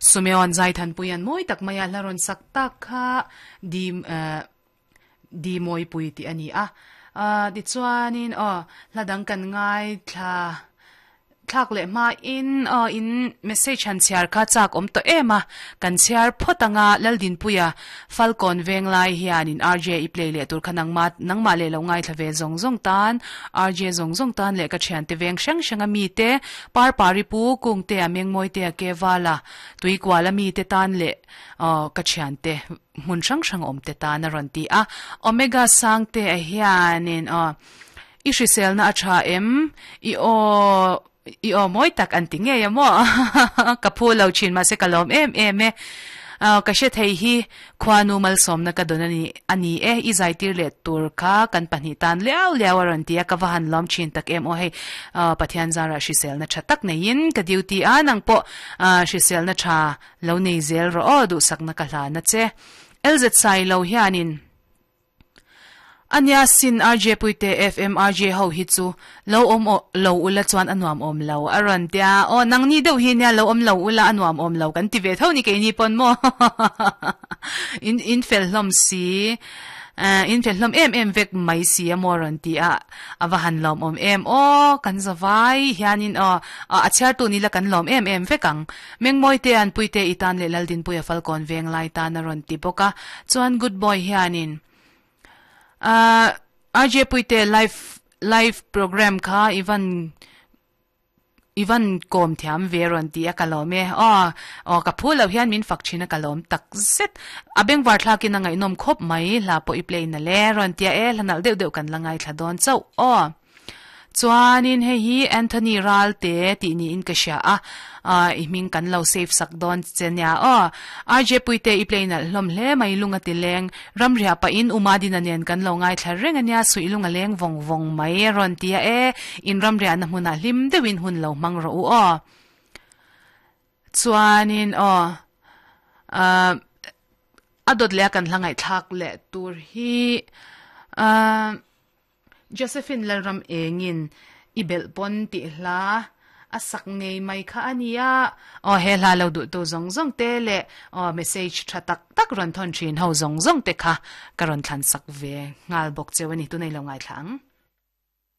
Sumeon Zaithanpuia'n mawi tak maia hla rawn sak tak kha di di mawipui tih a ni a. Tichuanin aw hla dang kan ngaithla thlak leh hmain aw in message han chhiar kha chak awm tawh em a, kan chhiar phawt anga Laldinpuia Falkawn Venglai hianin RJ i play leh tur kha nangmah nangmah leh lo ngaithla ve zawng zawng tan RJ zawng zawng tan leh ka thiante veng hrang hranga mite Parpari pu Kungtea Mengmawitea Kevala Tuikuala mite tan leh aw ka thiante hmun hrang hrang awm te tan a rawn ti a. Omega Sangtea hianin aw i hriselna a tha em? I aw i aw mawi tak an ti ngei a maw? Ka phu lo thin mahse ka lawm em em e. Aw ka hre thei hi khuanu malsawmna ka dawn a ni a ni e. I zaitir leh tur kha kan pahnih tan liau liau a rawn ti a, ka va han lawm thin tak em aw hei Pathian zarah hriselna tha tak neiin ka duty a nang pawh hriselna tha Lo nei zel rawh aw duhsakna ka hlan a che. LZ Sailo hianin Ania sin RJ Puite FM RJ ho hi chu lo awm lo ula chuan a nuam awm lo a rawn tia aw nangni deuh hi nia lo awm lo ula a nuam awm lo kan ti ve tho ni keini pawn maw in in fel hlawm si in fel hlawm em em vek mai si a maw rawn ti a A va han lawm awm em aw, kan za vai hianin aw a chhiartu ni la kan lawm em em vek ang. Mengmawite an Puite i tan leh Laldinpuia Falkawn veng lai tan a rawn ti bawk a, chuan Good Boy hianin ahh RJ Puite live live program kha i van I van kawm thiam ve rawn ti a ka lawm e. Aw, aw ka phu loh hian min fak thin a ka lawm tak zet. A bengvar thlakin a ngaihnawm khawp mai, hla pawh i play na le rawn tia e, hla nalh deuh deuh kan la ngaithla dawn chauh aw. Chuanin hei hi Anthony Ralte tih niin ka hria a, i hming kan lo save sak dawn che nia aw. RJ Puite i play nalh hlawm hle mai lunga ti leng. Ramriah pahin U Madina nen kan lo ngaithla reng a nia, suih lung a leng vawng vawng mai a rawn ti a, e, in ramriahna hmunah hlim deuhin hun lo hmang rawh u aw. Chuanin aw, ah, a dawt leh a kan hla ngaihthlak leh tur hi, ah, Josephine Lalram engin i belh pawn tih hla a sak ngei mai kha a nia. Aw he hla lo duhtu zawng zawng te leh aw message tha tak tak rawn thawn thin ho zawng zawng te kha ka rawn thlan sak ve nghal bawk cheu a ni. Tunei lo ngaithla ang.